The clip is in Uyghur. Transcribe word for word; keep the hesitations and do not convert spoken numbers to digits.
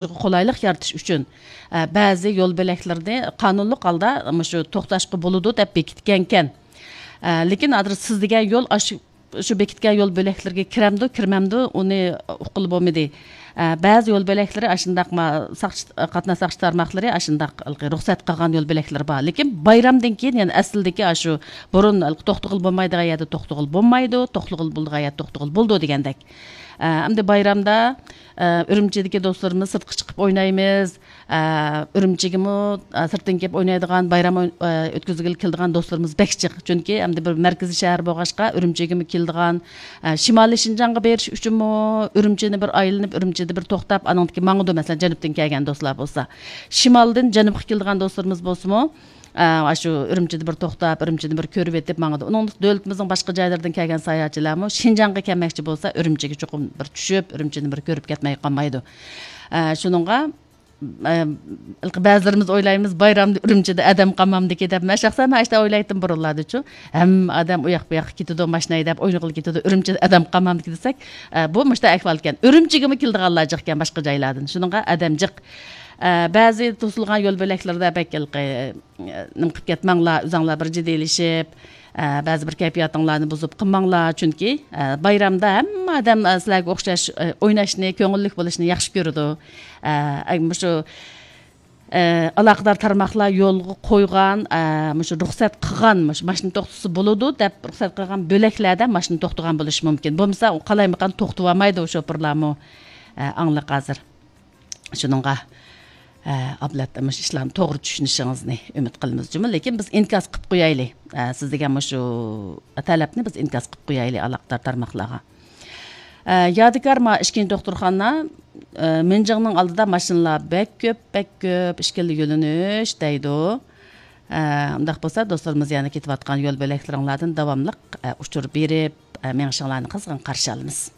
قولايلىق يارىتىش ئۈچۈن، ئە، بەزى يول بۆلەكلىرىنى قانۇنلۇق ھالدا مۇشۇ توختاشقا بولىدۇ دەپ بېكىتكەنكەن. ئە، لېكىن ھازىر سىز دېگەن يول ئاشۇ، شۇ بېكىتكەن يول بۆلەكلىرىگە كىرەمدۇ، كىرمەمدۇ، ئۇنى ئۇققىلى بولمىدى. ئە، بەزى يول بۆلەكلىرى ئاشۇنداق ما-، ساقچى، قاتناش ساقچى تارماقلىرى ئاشۇنداق ھېلىقى رۇخسەت قىلغان يول بۆلەكلىرى بار. لېكىن بايرامدىن كېيىن يەنە ئەسلىدىكى ئاشۇ بۇرۇن ھېلىقى توختىغىلى بولمايدىغان يەردە توختىغىلى بولمايدۇ، توختىغىلى بولىدىغان يەردە توختىغىلى بولىدۇ دېگەندەك. ئە، ئەمدى بايرامدا، ئە، ئۈرۈمچىدىكى دوستلىرىمىز سىرتقا چىقىپ ئوينايمىز. ئە، ئۈرۈمچىگىمۇ، ئە، سىرتتىن كېلىپ ئوينايدىغان، بايرام ئوي-، ئە، ئۆتكۈزگىلى كېلىدىغان دوستلىرىمىز بەك جىق. چۈنكى ئەمدى بىر مەركىزىي شەھەر بولغاچقا، ئۈرۈمچىگىمۇ كېلىدىغان، ئە، شىمالىي شىنجاڭغا بېرىش ئۈچۈنمۇ ئۈرۈمچىنى بىر ئايلىنىپ، ئۈرۈمچىدە بىر توختاپ، ئانىڭدىن كېيىن ماڭىدۇ. مەسىلەن، جەنۇبتىن كەلگەن دوستلار بولسا، شىمالدىن جەنۇبقا كېلىدىغان دوستلىرىمىز بولسىمۇ، ئە، ئاشۇ ئۈرۈمچىدە بىر توختاپ، ئۈرۈمچىنى بىر كۆرۈۋېتىپ ماڭىدۇ. ئۇنىڭ دۆلىتىمىزنىڭ باشقا جايلىرىدىن كەلگەن ساياھەتچىلەرمۇ شىنجاڭغا كەلمەكچى بولسا، ئۈرۈمچىگە چوقۇم بىر چۈشۈپ، ئۈرۈمچىنى بىر كۆرۈپ كەتمەي قالمايدۇ. ئە، شۇنىڭغا، ئە، بەزىلىرىمىز ئويلايمىز، بايرامدا ئۈرۈمچىدە ئادەم قالمامدىكى دەپ. مەن شەخسەن ئاشتا ئويلايتتىم بۇرۇنلاردىچۇ. ھەممە ئادەم ئۇ ياق بۇ ياققا كېتىدۇ، ماشىنا ھەيدەپ ئوينىغىلى كېتىدۇ، ئۈرۈمچىدە ئادەم قالمامدىكى دېسەك، ئە، بۇ مۇشۇنداق ئەھۋالكەن. ئۈرۈمچىگىمۇ كېلىدىغانلار جىقكەن باشقا جايلاردىن. شۇنىڭغا ئادەم جىق. ئە، بەزى توسۇلغان يول بۆلەكلىرىدە بەك ھېلىقى، ئە، نېمە قىلىپ كەتمەڭلار، ئۆزەڭلار بىر جىددىيلىشىپ، ئە، بەزى بىر كەيپىياتىڭلارنى بۇزۇپ قىلماڭلار، چۈنكى، ئە، بايرامدا ھەممە ئادەم، ئە، سىلەرگە ئوخشاش، ئە، ئويناشنى، كۆڭۈللۈك بولۇشنى ياخشى كۆرىدۇ. ئە، ئە، مۇشۇ، ئە، ئالاقىدار تارماقلار يولغا قويغان، ئە، مۇشۇ رۇخسەت قىلغان، مۇشۇ ماشىنا توختىسا بولىدۇ دەپ رۇخسەت قىلغان بۆلەكلەردە ماشىنا توختىغان بولۇشى مۇمكىن. بولمىسا، ئۇ قالايمىقان توختىۋالمايدۇ، شوپۇرلارمۇ. ئە، ئاڭلىق ھازىر. شۇنىڭغا، ئە، ئابلەت مۇشۇ ئىشلارنى توغرا چۈشىنىشىڭىزنى ئۈمىد قىلىمىز جۇمۇ. لېكىن بىز ئىنكاس قىلىپ قويايلى. ئە، سىز دېگەن مۇشۇ تەلەپنى بىز ئىنكاس قىلىپ قويايلى ئالاقىدار تارماقلارغا. ئە، يادىكار ما ئىككىنچى دوختۇرخانا، ئە، مىنجىڭنىڭ ئالدىدا ماشىنىلار بەك كۆپ، بەك كۆپ، ئىككىلا يۆنىلىش دەيدۇ. ئە، ئۇنداق بولسا دوستلىرىمىز يەنە كېتىۋاتقان يول بۆلەكلىرىڭلاردىن داۋاملىق، ئە، ئۇچۇر بېرىپ، ئە، مېڭىشىڭلارنى قىزغىن قارشى ئالىمىز.